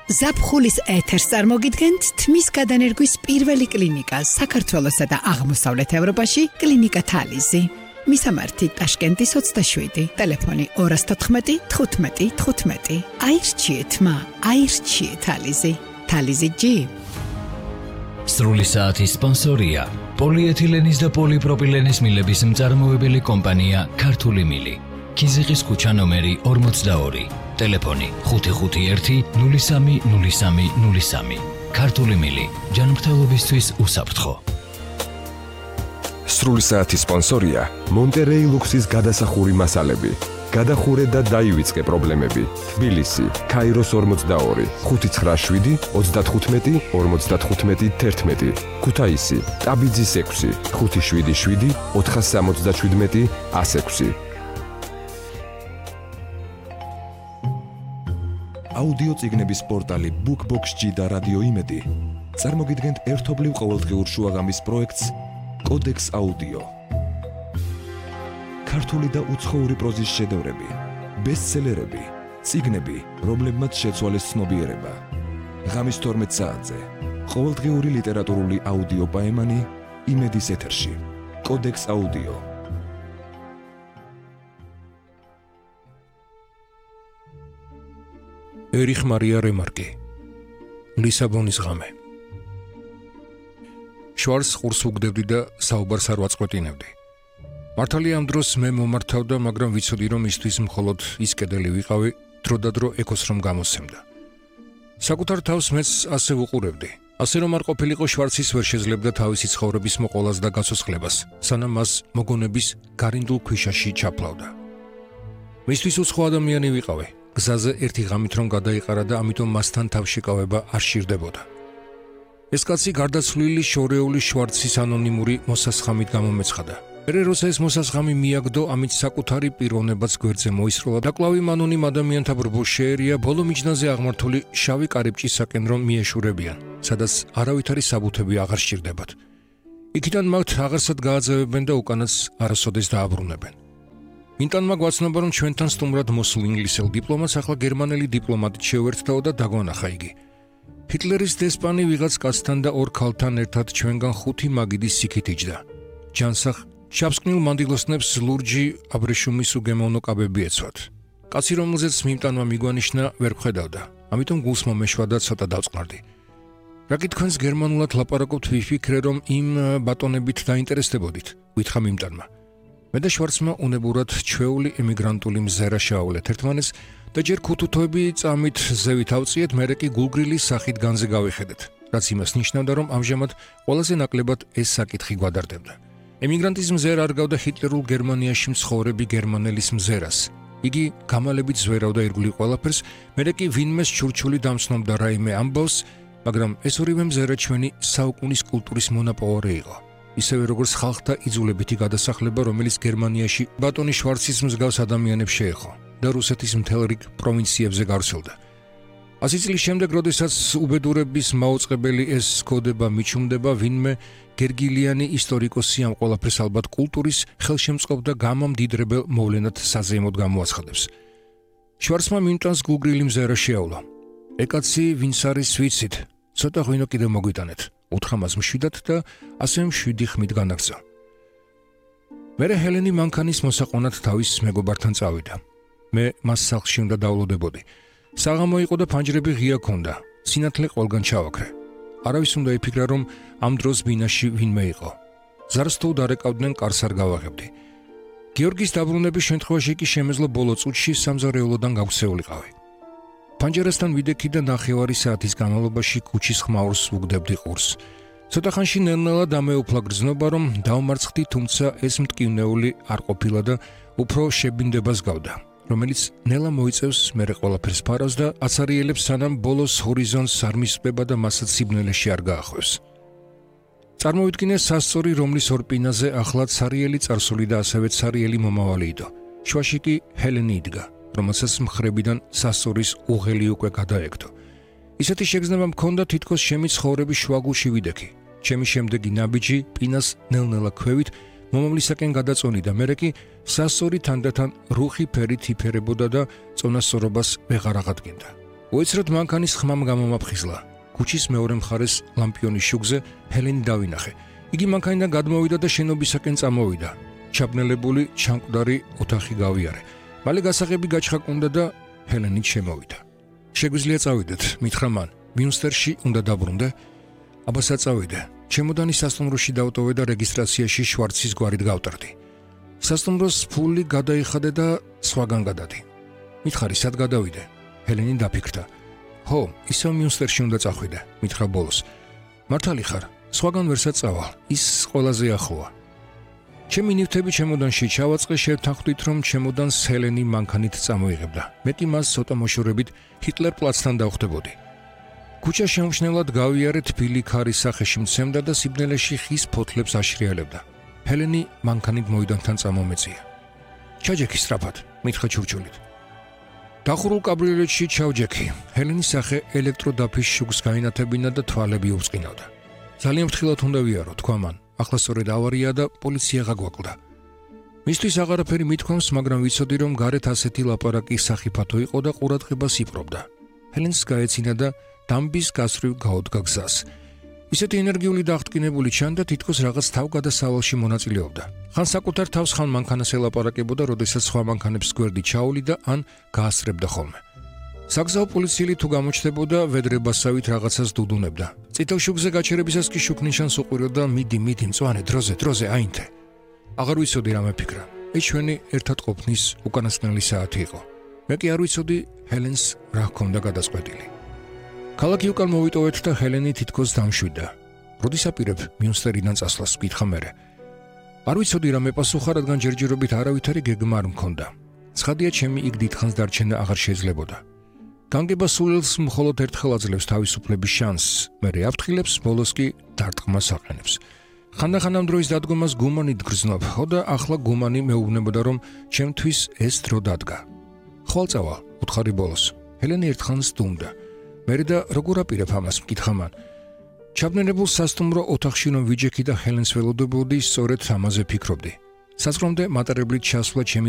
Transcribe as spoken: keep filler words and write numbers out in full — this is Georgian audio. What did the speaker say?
ზაფხულის ეთერს წარმოგიდგენთ თმის გადანერგვის პირველი კლინიკა საქართველოსა და აღმოსავლეთ ევროპაში კლინიკა თალიზი. მისამართი ტაშკენტის ოცდაშვიდი, ტელეფონი ორას თოთხმეტი თხუთმეტი თხუთმეტი. აირჩიეთ მა, აირჩიეთ თალიზი. თალიზი ჯი. სრული საათის სპონსორია პოლიეთილენის და პოლიპროპილენის მილების მწარმოებელი კომპანია ქართული მილი. ქიზიყის ქუჩა ნომერი ორმოცდაორი. ტელეფონი ხუთი ხუთი ერთი ნული სამი ნული სამი ნული სამი. ქართული მილი ჯანმრთელობისთვის უსაფრთხო. სრული საათის სპონსორია მონტერეი ლუქსის გადასახური მასალები. გადახურე და დაივიწყე პრობლემები. თბილისი, ქაიროს ორმოცდაორი, ხუთი ცხრა შვიდი ოცდათხუთმეტი ორმოცდათხუთმეტი თერთმეტი. ქუთაისი, ტაბიძის ექვსი, ხუთი შვიდი შვიდი ოთხას სამოცდაშვიდმეტი ას ექვსი. აუდიო წიგნების პორტალი BookBox-G და რადიო იმედი წარმოგიდგენთ ერთობლივ ყოველდღიურ შუაღამის პროექტს კოდექს აუდიო. ქართული და უცხოური პროზის შედევრები, ბესტსელერები, წიგნები, რომლებმაც შეცვალეს ცნობიერება. ღამის თორმეტ საათზე ყოველდღიური ლიტერატურული აუდიო პაემანი იმედის ეთერში. კოდექს აუდიო. ერიხ მარია რემარკი, ლისაბონის ღამე. შვარს ყურს უგდებდი და საუბარს არ ვაწყვეტინებდი. მართალია ამ დროს მე მომართავდა, მაგრამ ვიცოდი, რომ ისთვის მხოლოდ ის კედელი ვიყავი, დროდადრო ეკოს რომ გამოსცემდა. საკუთარ თავს მეც ასე ვუყურებდი. ასე რომ არ ყოფილიყო შვარცის ვერ შეძლებდა თავისი ცხოვრების მოყოლას და გაცოცხლებას, სანამ მას მოგონების გარინდულ ქვიშაში ჩაფლავდა. მისთვის უცხო ადამიანი ვიყავი. გზაზე ერთი ღამით რომ გადაიყარა და ამიტომ მასთან თავშეკავება არ სჭირდებოდა. ეს კაცი გარდაცვლილი შორეული შვარცის ანონიმური მოსასხამით გამომეცხადა. მერე როცა ეს მოსასხამი მიაგდო, ამით საკუთარი პიროვნებაც გვერდზე მოისროლა და კლავი ანონიმ ადამიანთა ბრბოს შეერია ბოლო მიჯნაზე აღმართული შავი კარიბჭისაკენ რომ მიეშურებიან, სადაც არავითარი საბუთები აღარ სჭირდებათ. იქიდან მათ აღარსად გააძევებენ და უკანაც არასოდეს დააბრუნებენ. ინტანმა გვაცნობა, რომ ჩვენთან სტუმრად მოსულ ინგლისელ დიპლომატს ახლა გერმანელი დიპლომატით შეუერთდაო და დაგვანახა იგი. ჰიტლერის დესპანი ვიღაც კაცთან და ორ ქალთან ერთად ჩვენგან ხუთი მაგიდის სიქით იჯდა. ჯანსაღ შავსკნილ მანდილოსნებს ლურჯი აბრეშუმის უგემოვნო კაბები ეცვათ. კაცი, რომელზეც მიმტანმა მიგვანიშნა, ვერ ვხედავდა. ამიტომ გულს მომეშვა და ცოტა დავწყნარდი. რა გითქვენს გერმანულად ლაპარაკობთ, ვიფიქრე, რომ იმ ბატონებით დაინტერესდებოდით, ვითხრა მიმტანმა. მე და შვარცმა უნებურად ჩვეული ემიგრანტული მზერა შევავლეთ ერთმანეთს და ჯერ ქუთუთოები წამით ზევით ავწიეთ, მერე კი გულგრილის სახით განზე გავიხედეთ, რაც იმას ნიშნავდა, რომ ამჟამად ყველაზე ნაკლებად ეს საკითხი გვადარდებდა. ემიგრანტის მზერა არ გავდა ჰიტლერულ გერმანიაში მცხოვრები გერმანელის მზერას. იგი გამალებით ზვერავდა ირგვლივ ყველაფერს, მერე კი ვინმეს ჩურჩული დამცნობდა რაიმე ამბავს, მაგრამ ეს ორივე მზერა ჩვენი საუკუნის კულტურის მონაპოვარი იყო. ისევე როგორც ხალხთა იძულებითი გადასახლება, რომელიც გერმანიაში ბატონი შვარცის მსგავს ადამიანებს შეეხო და რუსეთის მთელ რიგ პროვინციებზე გავრცელდა. ასი წლის შემდეგ, როდესაც უბედურების მაუწყებელი ეს კოდება მიჩუმდება, ვინმე გერგილიანი ისტორიკოსი ამ ყველაფერს ალბათ კულტურის ხელშემწყობ და გამამდიდრებელ მოვლენად საზეიმოდ გამოაცხადებს. შვარცმა მიმტანს გულგრილი მზერა შეავლა. ეკაცი, ვინც არის ვიცით, ცოტა ღვინო კიდევ მოგვიტანეთ. უთხრა მას მშვიდად და ასე მშვიდი ხმით განაგზა. მერე ჰელენი მანქანის მოსაყვანად თავის მეგობართან წავიდა. მე მას სახლში უნდა დავლოდებოდი. საღამო იყო და ფანჯრები ღია ქონდა. სინათლე ყველგან ჩავაქრე. არავის უნდა იფიქრა, რომ ამ დროს ბინაში ვინმე იყო. ზარს თუ დარეკავდნენ, კარს არ გავაღებდი. გიორგის დაბრუნების შემთხვევაში კი შემეძლო ბოლო წუთში სამზარეულოდან გავქცეულიყავი. ფანჯერასთან ვიდექი და ნახევარი საათის განმავლობაში ქუჩის ხმაურს ვუგდებდი ყურს. ცოტა ხანში ნელ-ნელა დამეუფლა გრძნობა, რომ დავმარცხდი, თუმცა ეს მტკივნეული არ ყოფილა და უფრო შებინდებას გავდა, რომელიც ნელა მოიწევს, მერე ყველაფერს ფარავს და აცარიელებს, სანამ ბოლოს ჰორიზონტს არ მისწვება და მასაც სიბნელეში არ გაახვევს. წარმოვიდგინე სასწორი, რომლის ორ პინაზე ახლა ცარიელი წარსული და ასევე ცარიელი მომავალი იდო. შუაში კი ჰელენი იდგა, რომელსაც მხრებიდან სასწორის უღელი უკვე გადაეკდო. ისეთი შეგრძნება მქონდა, თითქოს ჩემი ცხოვრების შუაგულში ვიდექი. ჩემი შემდეგი ნაბიჯი პინას ნელ-ნელა ქვევით მომავლისაკენ გადაწონი და მერე კი სასწორი თანდათან რუხი ფერით იფერებოდა და წონასწორობას ვეღარ აღადგენდა. უეცრად მანქანის ხმამ გამომაფხიზლა. ქუჩის მეორე მხარეს ლამპიონის შუქზე ჰელენი დავინახე. იგი მანქანიდან გადმოვიდა და შენობისაკენ წამოვიდა. ჩაბნელებული ჩამკვდარი ოთახი გავიარე. მალე გასაღები გაჩხაკუნდა და ჰელენით შემოვიდა. შეგვიძლია წავიდეთ, მითხრა მან. მიუნსტერში უნდა დაბრუნდე? აბა საწავიდე. ჩემოდანი სასტუმროში დავტოვე და რეგისტრაციაში შვარცის გვარით გავტარდი. სასტუმროს ფული გადაიხადე და სხვაგან გადადი. მითხარი, სად გადავიდე? ჰელენი დაფიქრდა. ხო, ისევ მიუნსტერში უნდა წახვიდე, მითხრა ბოლოს. მართალი ხარ, სხვაგან ვერ საწავალ, ის ყველაზე ახლოა. ჩემი ნივთები ჩემოდანში ჩავაწყე, შევთანხმდით, რომ ჩემოდანს ჰელენი მანქანით წამოიღებდა. მეტი მას ცოტა მოშორებით ჰიტლერ პლაცთან დავხვდებოდი. ქუჩა შემჩნევლად გავიარე, თბილი ქარის სახეში მცემდა და სიბნელეში ხის ფოთლებს აშრიალებდა. ჰელენი მანქანით მოიდანთან წამომეწია. ჩაჯექი სწრაფად, მითხრა ჩურჩულით. დახურულ კაბრიოლეტში ჩავჯექი. ჰელენის სახე ელექტროდაფის შუქს გაინათებინა და თვალები უწყინავდა. ძალიან ფრთხილად უნდა ვიარო, თქვა მან. ახლა სწორედ ავარია და პოლიცია გაგვაკლდა. მისთვის აღარაფერი მithქვამს, მაგრამ ვიცოდი, რომ გარეთ ასეთი ლაპარაკი სახიფათო იყო და ყურადღებას იპყრობდა. ჰელენს გაეცინა და დამბის გასწვრივ გაუდგა გზას. ისეთი ენერგიული და აღტკინებული ჩანდა, თითქოს რაღაც თავგადასავალში მონაწილეობდა. ხან საკუთარ თავს, ხან მანქანას ელაპარაკებოდა, როდესაც სხვა მანქანებს გვერდი ჩაუვლიდა ან გაასწრებდა ხოლმე. საგზაო პოლიციელი თუ გამოჩნდებოდა, ვედრებასავით რაღაცას დუდუნებდა. წითელ შუქზე გაჩერებისას კი შუქნიშანს უყვიროდა, მიდი, მიდი, მწვანე, დროზე, დროზე, აინთე. აღარ ვიცოდი რა მეფიქრა. ეს ჩვენი ერთად ყოფნის უკანასკნელი საათი იყო. მე კი არ ვიცოდი ჰელენს რა ჰქონდა გადაწყვეტილი. ქალაქი უკან მოვიტოვეთ და ჰელენი თითქოს დამშვიდა. როდის აპირებ მიუნსტერიდან წასვლას, ვკითხა მერე. არ ვიცოდი რა მეპასუხა, რადგან ჯერჯერობით არავითარი გეგმა არ მქონდა. ცხადია, ჩემი იქ დიდხანს დარჩენა აღარ შეძლებოდა. განგება სულელს მხოლოდ ერთხელ აძლევს თავისუფლების შანსს, მერე აფრთხილებს, ბოლოს კი დარტყმას აყენებს. ხანდახან ამ დროის დადგომას გუმანით გრძნობ, ხო და ახლა გუმანი მეუბნებოდა, რომ ჩემთვის ეს დრო დადგა. ხვალ წავალ, უთხარი ბოლოს. ჰელენი ერთხანს დუმდა. მერე და როგორ აპირებ ამას, მკითხა მან. ჩაბნელებულ სასტუმრო ოთახში რომ ვიჯექი და ჰელენს ველოდებოდი, სწორედ ამაზე ფიქრობდი. საზღვრამდე მატარებლით ჩასვლა ჩემი